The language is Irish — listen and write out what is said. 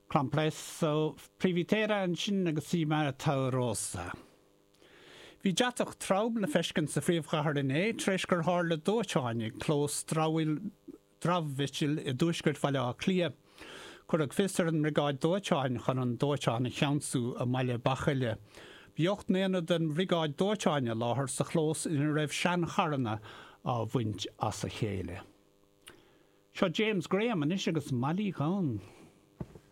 Complesso Privitera ansin agus Cima Taurosa. Bhí deatach trom le feiscint sa phríomhchathair inné tar éis gur tharla dóiteán ag clós dramh-mhiotail i dtuaisceart Bhaile Átha Cliath. Cuireadh fios ar an mbriogáid dóiteáin chun an dóiteán a cheansú i mBaile Bachaille. Bhí 8 n-aonad den bhriogáid dóiteáin i láthair sa chlós ina raibh seancharranna á bhaint as a chéile. Seo James Graham anois agus Mailí Dhonn.